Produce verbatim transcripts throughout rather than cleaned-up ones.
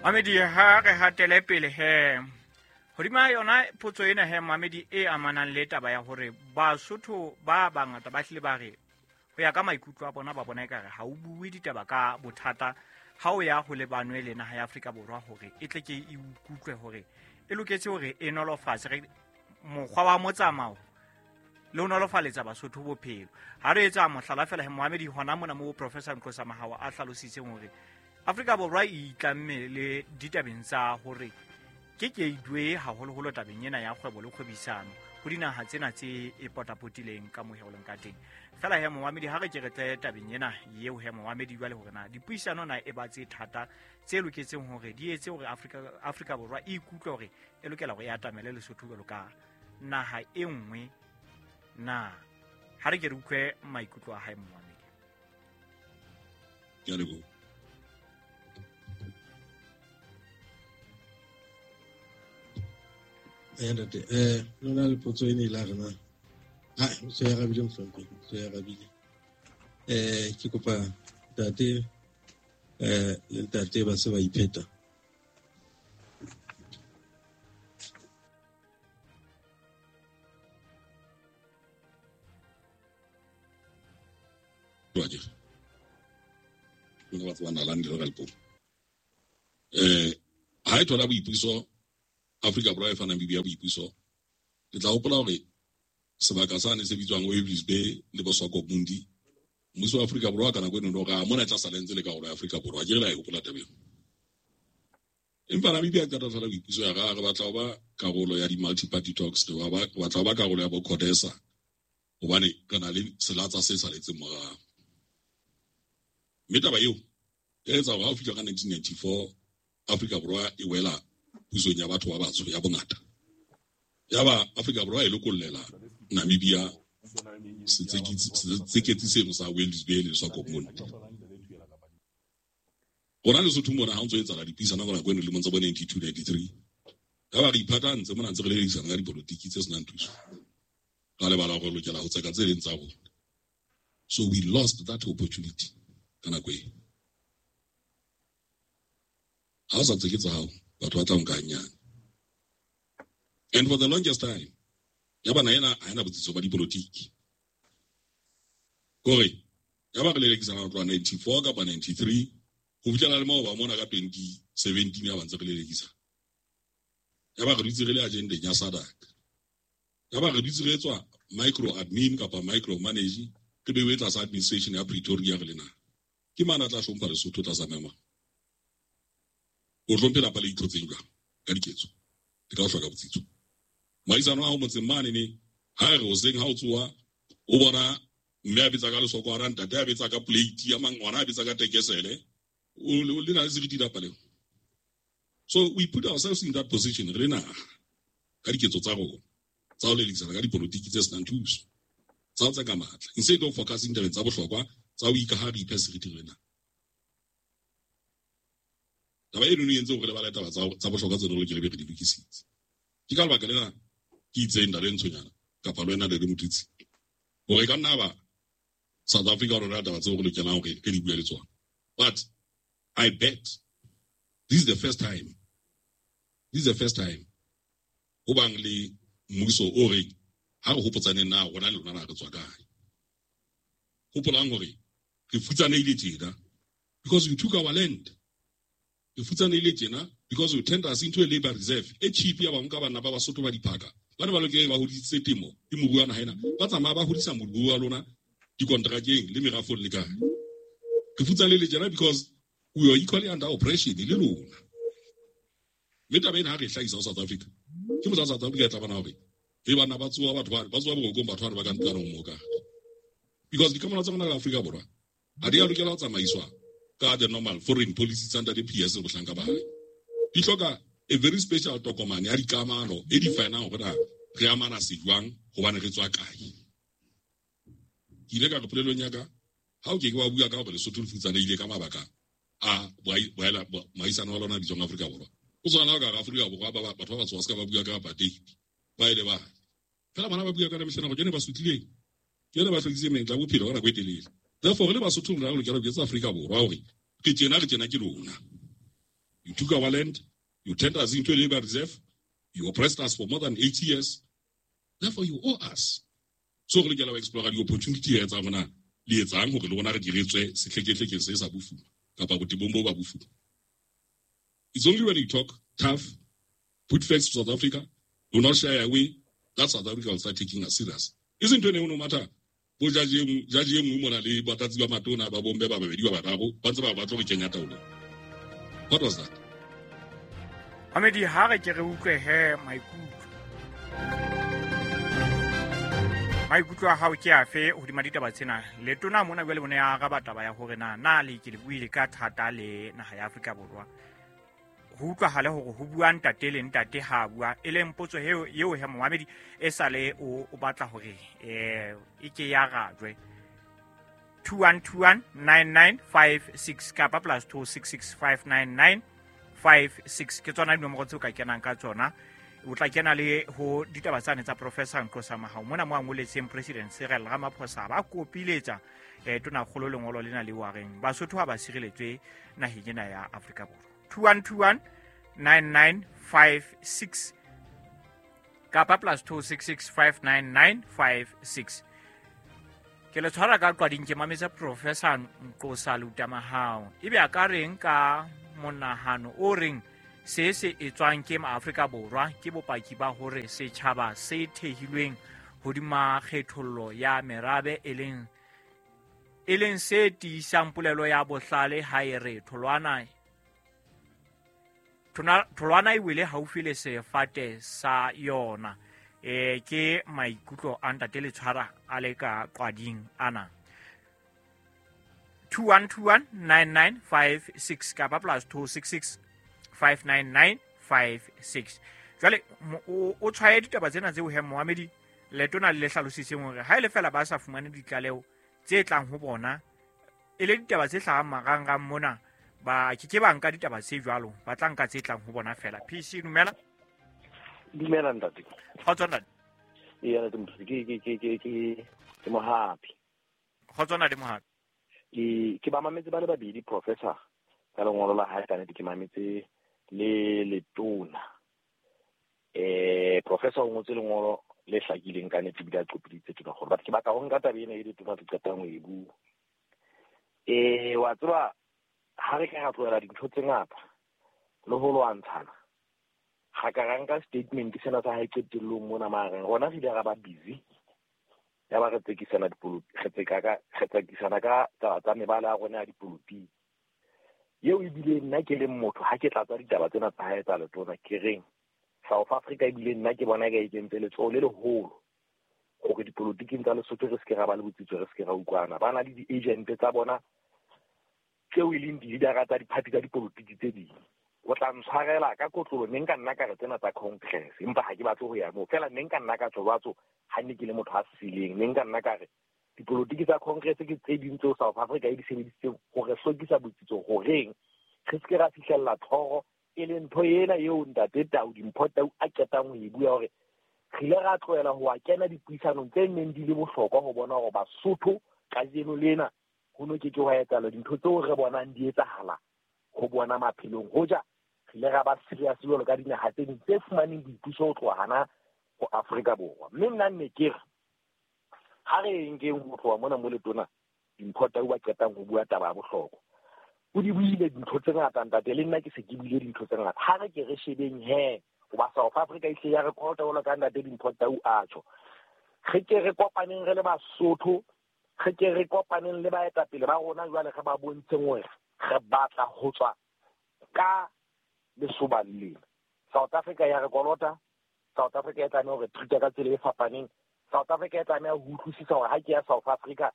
Mamedi, ha re hatele pele he hodima yona potso ena he Mamedi e amanang le taba ya hore Basotho ba bangata ba hlile ba re ho ya ka maikutlo a bona ba bona ekare ha o bue ditaba ka bothata ha o ya ho lebanwe le naha ya Afrika Borwa hore e tle ke e ikutlwe hore e loketse hore e nolofatse re mokgwa wa motsamao le ho nolofaletsa Basotho bophelo. Ha re etsa mohlala fela he Mohamedi hona mona mo Professor Nqosa Mahawa a hlalositseng hore Afrika Borwa e itlamme le ditabeng tsa hore ke gateway haholoholo tabeng ena ya kgwebo le kgwebisano ho dinaha tsena tse e potapotileng ka mohe o leng ka teng. Fela he Mohamedi ha re ke re tle tabeng ena eo he Mohamedi jwale hore na dipuisano na e ba tse thata tse loketseng hore di etse hore Afrika Afrika Borwa e ikutlwe hore e lokela hore e atamele Lesotho jwalo ka naha e nngwe na. Ha re ke re utlwe maikutlo a hae Mohamedi. Ke a leboha. Eh ntate, eh lona le potso ene e la rena. Ah, so ya rabile mohlomphehi, so ya rabile. Eh ke kopa ntate eh le ntate ba se ba ipheta. Roger. Nka ba tsebana la ndlela ka Limpopo. Eh ha e thola boipuso Afrika Borwa e fa Namibia boipuso, ke tla hopola hore sebaka sane se bitswang Walvis Bay le Boswakomundi, mmuso wa Afrika Borwa ka nako eno no ra mona tla sala ntse le karolo ya Afrika Borwa, ke re la e hopola taba eo. Empa Namibia ka tla thola boipuso ya ra re batla ho ba karolo ya di-multi-party talks, re ba batla ho ba karolo ya bo CODESA hobane re na le selatsa se saletseng morao. Mme taba eo e etsa hore ha o fihla ka nineteen ninety-four Afrika Borwa e wela pusong ya batho ba batsho ya bongata. Yaba Afrika Borwa e lokollela Namibia setseketsi seno sa Walvis Bay le Swakopmund. Rona Lesotho mona ha o ntso etsahala dipuisano ka nako eno dilemong tsa bo ninety-two ninety-three, yaba re iphatantse mona ntse re lelekisana ka dipolotiki tse senang thuso. Ra lebala hore re lokela ho tseka tse leng tsa rona. So we lost that opportunity ka nako eo. Ha o sa tseke tsa hao, batho ba tla nka hanyane. And for the longest time, ya bana ena ha ena botsitso ba dipolotiki. Kore ya ba re lelekisana ho tloha ninety-four kapa ninety-three ho fihlela le moo ba mona ka twenty seventeen ya ba ntse re lelekisa. Ya ba re dutse re le agendeng ya SADC. Ya ba re dutse re etswa micro admin kapa micro manage re bewe tlasa administration ya Pretoria re le naha. Ke mang a tla hlompha Lesotho tlasa maemo a? O hlomphe lapa le itlhotseng jwang ka diketso le ka ho hloka botsitso. Moahisano wa hao motseng mane ne ha re hoseng ha o tsoha o bona mme a betsa ka lesokwana, ntate a betsa ka plate ya mang, ngwana a betsa ka tekesele, o le na le seriti lapa leo. So we put ourselves in that position re le naha ka diketso tsa rona tsa ho lelekisana ka dipolotiki tse senang thuso, tsa ho tseka matla, instead of focusing tabeng tsa bohlokwa tsa ho ikaha re iphe seriti re le naha. Taba eno e entse hore re lebale taba tsa bohlokwa tse re lokela be re di lokisitse. Ke ka lebaka lena ke itseng ntate Ntshonyana kapa le wena Ntate Motutsi hore ka nna ba South Africa rona taba tseo re lokelang hore re di bue le tsona. But I bet this is the first time, this is the first time ho bang le mmuso o reng ha re hopotsaneng na rona le lona na re tswa kae. Hopolang hore re futsanehile tjena because we took our land. Re futsanehile tjena because we turned us into a labor reserve e cheap ya bang ka bana ba Basotho ba diphaka. Ba ne ba lokela ba hodisitse temo le moruo wa naha ena, ba tsamaya ba hodisa moruo wa lona dikontrakeng le merafong le kae. Re futsanehile tjena because we are equally under oppression le lona. Mme taba ena ha re e hlahisa ho South Africa, ke motsa South Africa e tla bona hore e bana ba tsoha batho ba ba tsoha borokong batho ba ba ka ntlwaneng mo ka. Because dikamano tsa rona le Afrika Borwa ha di a lokela ho tsamaiswa ka the normal foreign policy tsa ntate P S le bohlanka ba hae. Di hloka a very special tokomane ya dikamano e definang hore na re amana se jwang hobane re tswa kae. Ke ile ka re polelong ya ka ha o ke ke wa bua ka hore Lesotho le futsanehile ka mabaka a moahisano wa lona a bitswang Afrika Borwa. O tshwana ka Afrika Borwa ba batho ba batsho ba se ka ba bua ka apartheid ba ile ba fela bana ba bua ka mehleng go ba sutlileng ke ene ba hlokisitseng menyetla ya bophelo ka nako e telele. Therefore re le Basotho rona re lokela ho etsa Afrika Borwa hore re tjena re tjena ke lona. You took our land, you turned us into a labor reserve, you oppressed us for more than eighty years. Therefore, you owe us. So re lokela ho explore di-opportunity tsa rona le etsang hore le rona re di re tswe sehlekehlekeng se sa bofuma kapa botebong bo ba bofuma. It's only when you talk tough, put facts to South Africa, do not shy away, that South Africa will start taking us serious. Isn't it no matter bo judge e nngwe mona le batlatsi ba matona ba bomme ba babedi ba bararo ba ntse ba batla ho kenya taolong. What was that? Mamedi, ha re ke re utlwe he maikutlo. Maikutlo a hao ke afe hodima ditaba tsena? Letona mona jwale bone ya araba taba ya hore na na le ke le buile ka thata le naha ya Afrika Borwa. Ho utlwahale hore ho bua ntate le ntate ha bua, e leng potso eo eo he momamedi e sale o o batla hore eh e ke ya rajwe. two one two one nine nine five six kapa plus two six six five nine nine five six ke tsona dinomoro tseo ka kenang ka tsona. O tla kena le ho ditaba tsane tsa Professor Nqosa Mahao mona mo a ngoletseng President Cyril Ramaphosa ba kopiletsa eh tonakgolo lengolo lena le wa reng Basotho ha ba sireletswe naheng ena ya Afrika Borwa. two one two one nine nine five six kapa plus two six six five nine nine five six. Ke le tshwara ka qwading ke mametse Professor Nqosa Lutamahao ebe a ka reng ka monahano o reng se se etswang ke maAfrika Borwa ke bopaki ba hore setjhaba se thehilweng hodima kgethollo ya merabe e leng e leng se tiisang polelo ya bohlale ha e re tholwana tholwana e wele haufi le sefate sa yona. E ke maikutlo a ntate le tshwara a le ka qwading ana. two one two one nine nine five six kapa plus two six six five nine nine five six. Jwale o tshwaye ditaba tsena tseo he moamedi letona le hlalositseng hore ha ile fela ba sa fumane ditlaleho tse tlang ho bona e le ditaba tse hlahang marangrang mona ba ke ke ba nka ditaba tse jwalo ba tla nka tse tlang ho bona fela. P C dumela. Dumela ntate. Kgotso ntate. Ee ntate Motho, ke ke ke ke ke ke Mohapi. Kgotso ntate Mohapi. Ke ke ba mametse ba le babedi professor ka lengolo la hae ka nnete ke mametse le letona. Eh professor o ngotse lengolo le hlakileng ka nnete ebile a qopiditse tona gore but ke batla ho nka taba ena e letona re qetang ho e bua. Eh wa tseba ha re ka ra tlohela dintho tse ngata le ho lwantshana ga ka ra nka statement sena sa hae qetellong mona mareng rona re ile ra ba busy ya ba re tsekisana dipolotiki re tseka ka re tsekisana ka taba tsa mebala ya rona ya dipolotiki eo ebile nna ke leng motho ha ke tlatsa ditaba tsena tsa hae tsa letona ke reng South Africa ebile nna ke bona ka e kentse letsoho le leholo hore dipolotiking tsa Lesotho re se ke ra ba le botsitso re se ke ra utlwana ba na le di-agent tsa bona tseo e leng di-leadera tsa diphathi tsa dipolotiki tse ding. O tla ntshwarela ka kotlolo ne nka nna ka re tsena tsa congress empa ha ke batle ho ya moo fela ne nka nna ka tjho batso ha ne ke le motho a sileng ne nka nna ka re dipolotiki tsa congress ke tse ding tseo South Africa e di sebedisitseng hore hlokisa botsitso horeng re se ke ra fihlella tlhoro e leng ntho ena eo ntate Tau Dimpho Tau a qetang ho e bua hore re ile ra tlohela ho a kena dipuisanong tse neng di le bohlokwa ho bona hore Basotho kajeno lena ho no ke ke hwa etsahala dintho tseo re bonang di etsahala ho bona maphelong hoja re ile ra ba serious jwalo ka dinaha tse ding tse fumaneng boipuso ho tloha hana ho Afrika Borwa. Mme nna nne ke re ha re nkeng ho tloha mona mo letona Dimpho Tau ba qetang ho bua taba ya bohlokwa o di buile dintho tse ngata ntate le nna ke se ke buile dintho tse ngata ha re ke re shebeng he hoba South Africa e hle ya re kolota jwalo ka ntate Dimpho Tau a tjho re ke re kopaneng re le Basotho re ke re kopaneng le baetapele ba rona jwale re ba bontsheng hore re batla ho tswa ka lesoba lena. South Africa ya re kolota, South Africa e tlameha hore treat ka tsela e fapaneng, South Africa e tlameha ho utlwisisa hore ha ke ya South Africa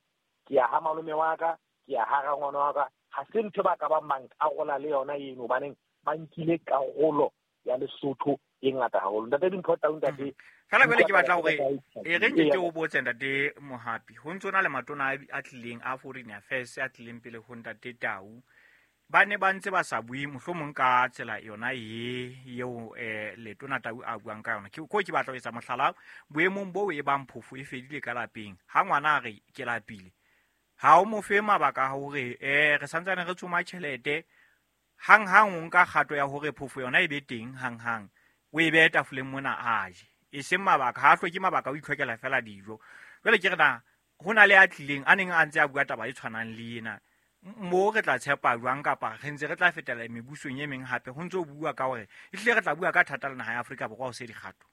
ke ya ha malome wa ka ke ya ha rangwana wa ka ha se ntho ba ka ba mang karola le yona eno hobaneng ba nkile karolo ya Lesotho e ngata haholo. Ntate Dimpho Tau ntate fela jwale ke batla hore e re nke ke o botse ntate Mohapi ho ntso na le matona a tlileng a foreign affairs a tlileng pele ho ntate Tau ba ne ba ntse ba sa bue mohlomong ka tsela yona e eo eh letona Tau a buang ka yona. Ke ko ke batla ho etsa mohlala boemong bo e bang phofo e fedile ka lapeng ha ngwana a re ke lapile ha o mo fe mabaka hore eh re santsane re tsoma tjhelete Hang hang o nka kgato ya hore phofo yona e be teng hang hang. O e behe tafoleng mona a je. E seng mabaka, ha a hloke mabaka o itlhokela fela dijo. Jwale ke re na ho na le a tlileng a neng a ntse a bua taba e tshwanang le ena. Mo re tla tshepa jwang kapa re ntse re tla fetela mebusong e meng hape ho ntse o bua ka hore ehlile re tla bua ka thata le naha ya Afrika Borwa ho se dikgato.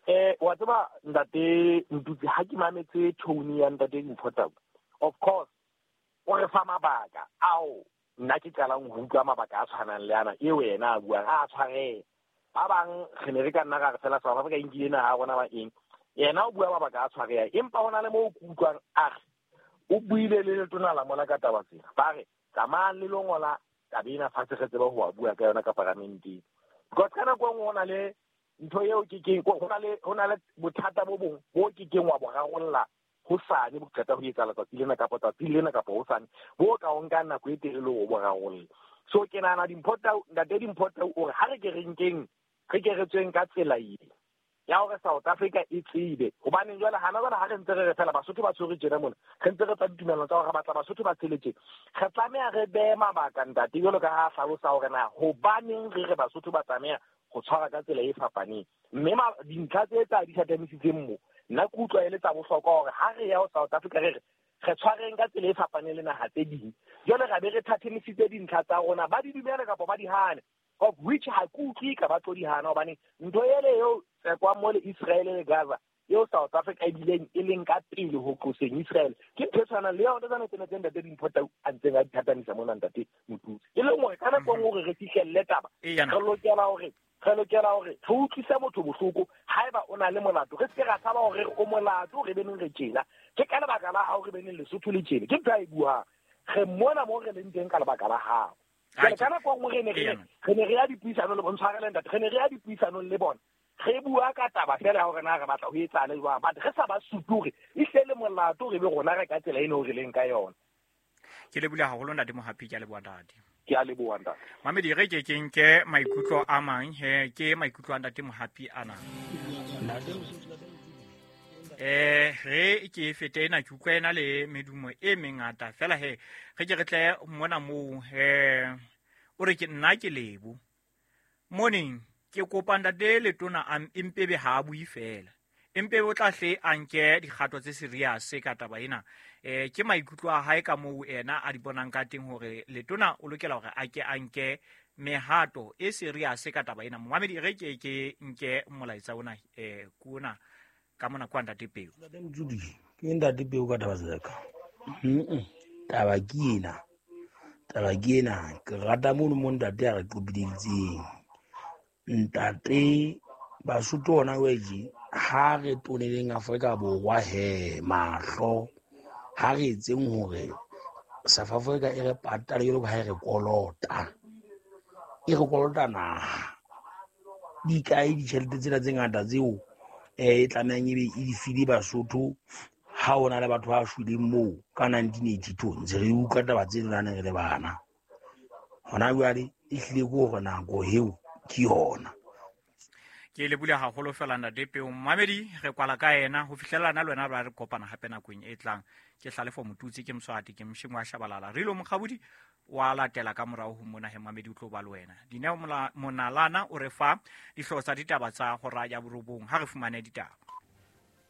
Eh wa tseba ntate Ntutsi, ha ke mametse tone ya ntate Mpho, of course o re fa mabaka ao nna ke qalang ho utlwa mabaka a tshwanang le ana eo yena a buang a tshwareha. Ba bang re ne re ka nna ra re fela South Africa e nkile naha ya rona ba eng, yena o bua mabaka a tshwareha, empa ho na le moo ke utlwang a re o buile le letona la mona ka taba tsena, ba re tsamayang le lo ngola taba ena fatshe re tsebe ho wa bua ka yona ka paramenteng. Because ka nako e nngwe ho na le ntho eo ke keng, ho na le ho na le bothata bo bong bo ke keng wa bo rarolla hosane bo qeta ho etsahala tsatsi lena kapa tsatsi lena kapa hosane, bo ka o nka nako e telele ho bo rarolla. So ke nahana Dimpho Tau, ntate Dimpho Tau o re ha re ke re nkeng, re ke re tsweng ka tsela e ya hore South Africa e tsebe. Hobaneng jwale hana jwale ha re ntse re re fela Basotho ba tshwere tjena mona, re ntse re tsa ditumellano tsa hore re batla Basotho ba tshele tjena, re tlameha re behe mabaka ntate jwalo ka ha a hlalosa hore na hobaneng re re Basotho ba tlameha ho tshwara ka tsela e fapaneng. Mme dintlha tse tsa di thathamisitseng mo, nna ke utlwa e le tsa bohlokwa hore ha re ya ho South Africa re re re tshwareng ka tsela e fapaneng le naha tse ding. Jwale ra be re thathamisitse dintlha tsa rona, ba di dumele kapa ba di hane, of which ha ke utlwe ka ba tlo di hana, hobane ntho ele eo tsekwang mo le Israel le Gaza eo South Africa e bileng e leng ka pele ho qoseng Israel, ke ntho e tshwanang le yona tsena tsena tse ntate Dimpho Tau a ntseng a di thathamisa mona ntate Motutsi. E leng hore ka nako e nngwe hore re fihlelle taba, re lokela hore re lokela hore re utlwise motho bohloko haeba o na le molato, re se ke ra tshaba hore o molato re beneng re tjena, ke ka lebaka la hao re beneng Lesotho le tjena. Ke ntho a e buang, re mona moo re leng teng ka lebaka la hao. Jwale ka nako e nngwe re ne re re ne re ya dipuisanong le bona, tshwarele ntate, re ne re ya dipuisanong le bona, re bua ka taba fela ya hore na re batla ho etsahale jwang, but re sa ba supe hore ehlile le molato re be rona re ka tsela eno re leng ka yona. Ke lebohile haholo ntate Mohapi, ke a leboha ntate. Ke a leboha ntate. Mamedi, re ke ke nke maikutlo a mang he, ke maikutlo a ntate Mohapi ana. Eh re ke fete ena ke utlwa ena le medumo e mengata fela he, re ke re tle mona moo he o re ke nna ke lebo. Morning, ke kopa ntate letona a Empebe ha a bue fela. Empebe o tla hle a nke dikgato tse serious ka taba ena. Eh ke maikutlo a hae ka moo ena a di bonang ka teng hore letona o lokela hore a ke a nke mehato e serious ka taba ena. Momamedi, re ke ke nke molaetsa ona eh kuna ka mona kwa ntate Peo. Ntate Motudi, ke ntate Peo ka taba tsaka. Mhm. Taba ke ena. Taba ke ena, ke rata mono mo ntate a re qopiditseng. Ntate Basotho ona weje ha re toneleng Afrika Borwa he mahlo, ha re etseng hore South Africa e re patale jwalo ka ha e re kolota, e re kolota naha. Di kae ditjhelete tsena tse ngata tseo eh e tlamehang ebe e di file Basotho ha ho na le batho ba shweleng moo ka nineteen eighty-two, ntse re utlwa taba tseno ne re le bana. Hona jwale e hlile ke hore nako eo ke yona. Ke lebohile haholo fela ntate Peo. Mamedi, re kwala ka ena ho fihlellana le wena ba re kopana hape nakong e tlang. Ke Hlalefo Motutsi, ke Mswati, ke Mshimo wa Shabalala. Re lo Mokgabudi wa latela ka morao ho mona he Mamedi o tlo ba le wena. Dineo Monalana o re fa dihlooho tsa ditaba tsa hora ya borobong. Ha re fumane ditaba.